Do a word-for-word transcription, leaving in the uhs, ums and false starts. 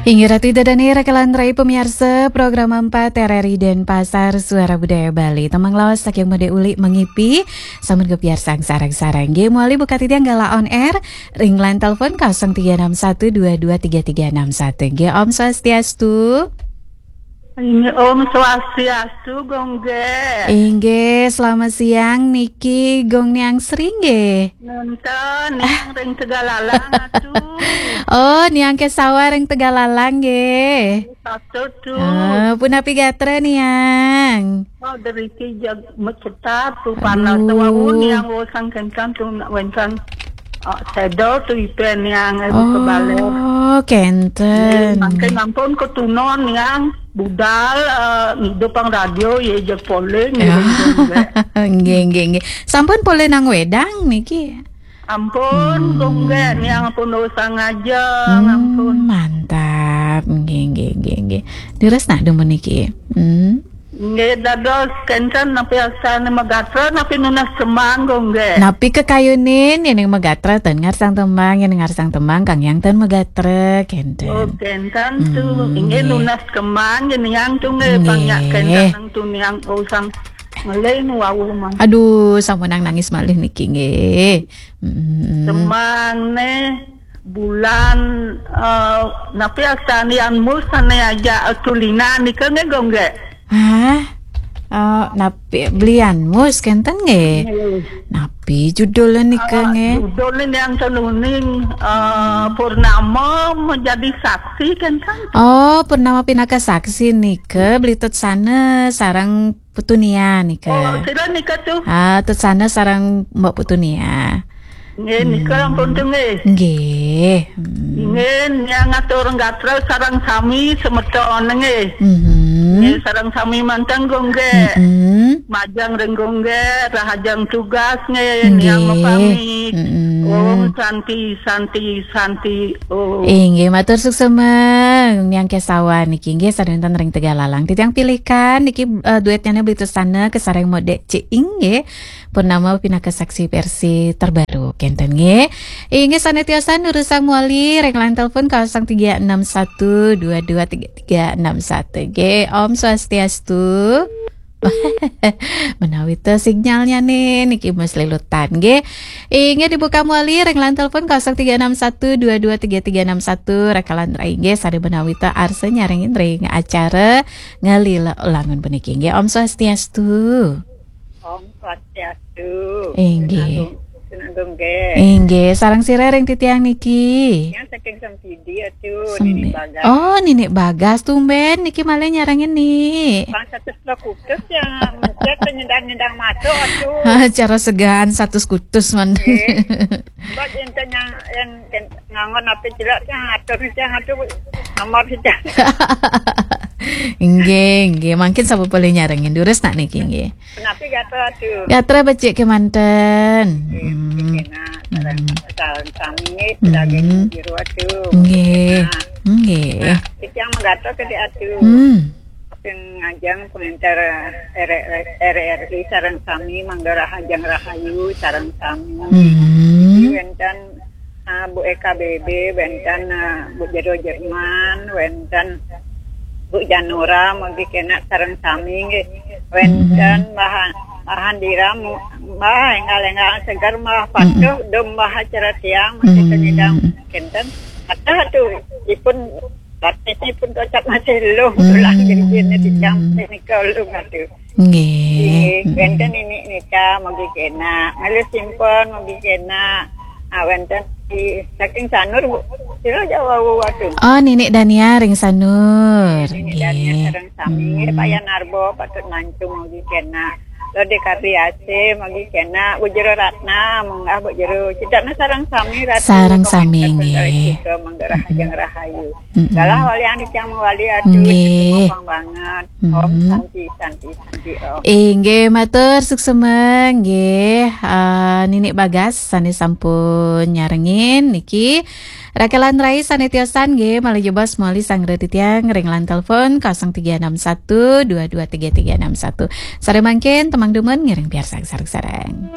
Inggih Ratu Ida Dane, raka lan rai pamiarsa program empat R R I Denpasar, Suara Budaya Bali. Tembang lawas saking Made Uli Mengipi, sampun kapiarsang sareng-sareng. Nggih, mawali buka titiang galah on air, ring line telepon kosong tiga enam satu dua dua tiga tiga enam satu. Nggih, Om Swastiastu. Inggih, Om Swastiastu, Gung Gé. Inggih, selamat siang niki Gung Niang Sri nggih. Nenten, Niang ring Tegalalang, atuh. Oh, Niang Kesawa ring Tegalalang nggih. Patut tuh. Ah, punapi gatra Niang? Oh, deriki jag mecetat tuh, panas. Aduh. Wau Niang wau sangkenkan tuh, nak wencan. Ah, sedel tuh ipen Niang, eh, buka baler. Oh, kenten. Nggih, mangke ampun ketunon Niang budal, eh, ngidup pang radio, ya, jeg polling, ya. Nggih, nggih, nggih. Sampun polih nang wedang niki? Ampun, hmm. Gung Gé, Niang pun dosa ngajeng, hmm, ampun. Mantap. Nggih, nggih, nggih, nggih. Leres nak dumun niki. Hmm. Nggih, dados kenten napi astane magatra, napi nunas kemang, Gung Gé. Napi kakayunin, yen magatra ten ngarsang tembang, yen ngarsang tembang kang yang ten magatra, kenten. Oh, kenten tuh. Hmm, inggih, nggih. Nunas kemang, yen yang tuh nggih, nggih. Pang yak kenten nang tuh Niang usang ngeling wau mang. Aduh, sampunang nangis malih niki nggih. Mm. Semang neh bulan, eh, napi astane Yan Mus sane ajak Tulina nika nggih, Gung Gé? Hah? Eh, napi Beli Yan Mus kenten nggih? Nggih. Napi judulnya nika nggih? Ah, judulnya yang tenuning, eh, Purnama Menjadi Saksi kenten. Oh, Purnama Pinaka Saksi nika Beli Tut Sana sareng Putu Nia nika. Oh, sira nika tuh. Ah, Tut Sana sareng Mbok Putu Nia. Nggih, nika, hmm, ampun tuh nggih. Nggih. Hmm. Nggih, Niang ngatur gatra sareng sami semeton nggih. Mhm. Nggih, sareng sami manten, Gung Gé. Mm-mm. Majeng ring Gung Gé, rahajeng tugas nggih, nggih. Niang mapamit. Mm-mm. Om Santi, Santi, Santi, Om. Inggih, matur suksema Niang Kesawa niki nggih, sane wenten ring Tegalalang. Titiang pilihkan niki, eh, duetnya Beli Tut Sana kasareng Modek Ciing nggih. Purnama Pinaka Saksi versi terbaru kenten nggih. Inggih, sane tiosan durusang mawali ring line telepon kosong tiga enam satu dua dua tiga tiga enam satu nggih. Om Swastiastu. Menawi te sinyalnya nih, niki mas lelutan nggih. Inggih, dibuka mawali ring line telepon kosong tiga enam satu dua dua tiga tiga enam satu, raka lan rai nggih, sane menawi te arsa nyarengin ring acara Ngalila Ulangun puniki nggih. Om Swastiastu. Om Swastiastu. Inggih. Sinagong, sinagong nggih. Inggih, sareng sira ring titiang niki? Yang saking Sempidi, atuh, Sembi-, Nini Bagas. Oh, Nini Bagas, tumben niki malih nyarengin, Ni. Pang satus kutus yang mencet nyendang-nyendang masuk, atuh. Cara segan satus kutus, man. Nggih. Buat enten yang, yang, yang ngangon apa jelek, yang atur, yang atur nomor saja. Nggih, nggih, mangkin sampun polih nyarengin, durus nak niki nggih. Napi gatra, atuh? Gatra becik kemanten. Nggih, hmm. Becik kena, sareng, hmm, sareng sami nggih, hmm, sebagai juru, atuh. Nggih. Nah. Nggih. Nah, titiang magatra ke di, atuh. Hmm. Sing ngajeng penginter R R I sareng sami, mangda rahajeng rahayu sareng sami. Hmm. Wenten, ah, Bu Eka B B, wenten, ah, Bu Jero Jerman, wenten Bu Janura, mugi kena sareng sami nggih. Wenten, hmm, Mbah, Mbah Handira, mu-, Mbah enggal-enggal seger, Mbah patuh, hmm, dum Mbah acara tiang, masih, hmm, kenyidang kenten. Atau tu ipun batisipun kocap masih lung, hmm, tulang, jadi kena dicampuh nika lung, atuh. Nggih. Nggih, hmm, wenten ini nika, mugi kena. Malih simpon, mugi kena. Ah, wenten di saking Sanur, Bu. Sira Jawa, Bu, atuh. Oh, Nini Dania ring Sanur. Nini Dania, nggih, sareng sami. Hmm. Nggih, Payan Arbo patut mancung, mugi kena. Lode Kardiase, mugi kena. Bu Jero Ratna, munggah Bu Jero. Citana sareng sami, Ratu. Sareng sami, komentar nggih. Kita, mangga rahajeng, mm-mm, rahayu. Mm-mm. Galah walian titiang mawali, atuh, nggih, gampang banget. Om, mm-mm, Santi, Santi, Santi, Om. Inggih, matur suksema nggih, eh, Nini Bagas sane sampun nyarengin niki. Raka lan rai sane tiosan nggih, malih jebos mawali sanggra titiang ring line telepon kosong tiga enam satu dua dua tiga tiga enam satu. Sare mangkin tembang dumun ngiring piarsang sareng-sareng.